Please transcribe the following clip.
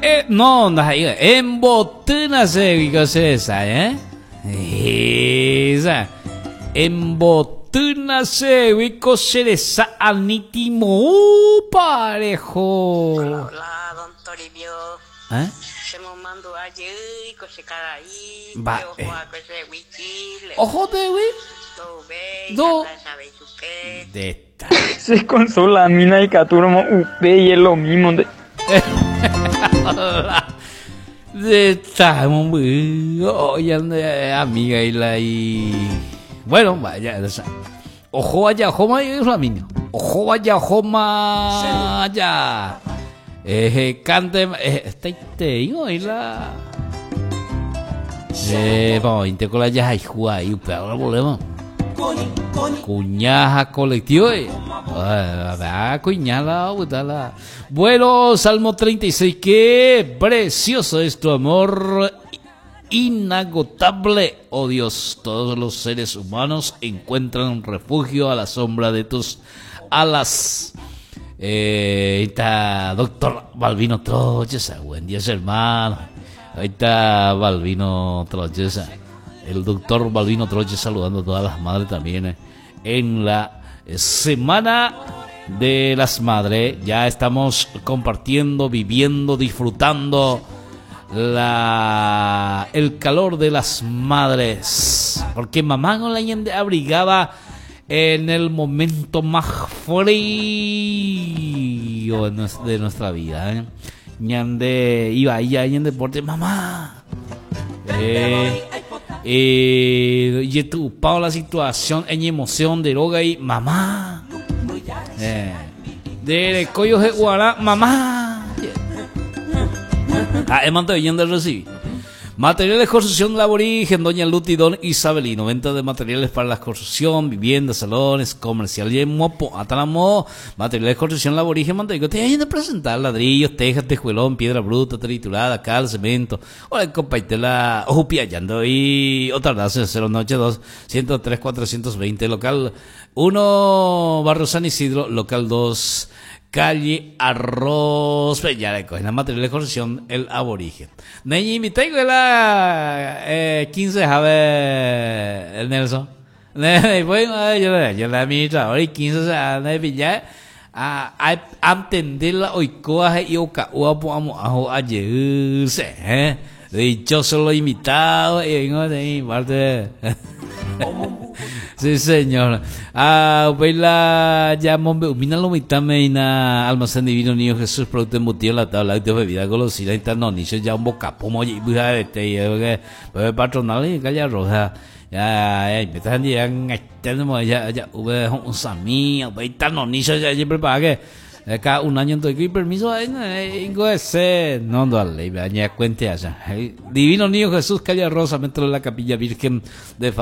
Eh, no, ndaha'éi. Embotýna chégui ko che resa, eh? Esa. Embotýna chégui ko che resa ani timoúpa reho. Hola, hola, don Toribio. Eh? Che momandu'a jey ko che karai, Mba'e? che oho va'ekue chegui Chile. Oho ndégui? Ndouvéi, Ndo. ha ndahechavéi chupe. Nde Se consola mina ikatúramo upéi es lo mismo nde. Está mombyry ñande amiga y la y bueno vaya ojo vaya ojo ma Flaminio ojo vaya ojo ma ya eh cante eh, está y la eh vamos con la ya ahí upéva problema Cuña ha colectivo. Cuña la la. Bueno, Salmo 36, qué precioso es tu amor inagotable, oh Dios. Todos los seres humanos encuentran refugio a la sombra de tus alas. Eh, está doctor Balbino Troches, buen día hermano. Ahí está Balbino Troches. El doctor Balbino Troche saludando a todas las madres también eh, en la Semana de las Madres. Ya estamos compartiendo, viviendo, disfrutando la, el calor de las madres. Porque mamá no la abrigaba en el momento más frío de nuestra vida. ¿eh? Ñande iba ahí, ahí en deporte, mamá. Eh, eh, y ocupado la situación en emoción de droga y mamá. Eh, de coyo de guará, mamá. Ah, de recibir. Materiales de construcción La Aborigen, Doña Luti, Don Isabelino. Venta de materiales para la construcción, viviendas, salones, comercial y mopo. Atalamo, materiales de construcción La Aborigen, Manteco. Te vayan a presentar ladrillos, tejas, tejuelón, piedra bruta, triturada, cal, cemento. Hola, compaitela, ojupiayando y otra raza, 092 103 420, local 1, Barrio San Isidro, local 2 calle Arroz, ya le cogen la material de construcción el aborigen. Neñi invité la eh, 15 jave el Nelson. Ne bueno, yo yo la administrador y 15 se ne pilla a a entender la oikoa y oka ua amo ajo ayer se eh. Dichoso los invitados y vengo de mi parte. Sí, señor. Ah, la ya mombe umina lo mitame ina almacén divino niño Jesús producto embutido la tabla de bebida golosina y no ni ya un bocapomo y buja de te y que pues patronal y calle roja. Ya, ya, me están ya ya ya ube un sami, ube no ni ya ya prepara que cada un año entonces permiso ahí ese no no le ya cuente allá. Divino Niño Jesús calle Rosa metro de la Capilla Virgen de.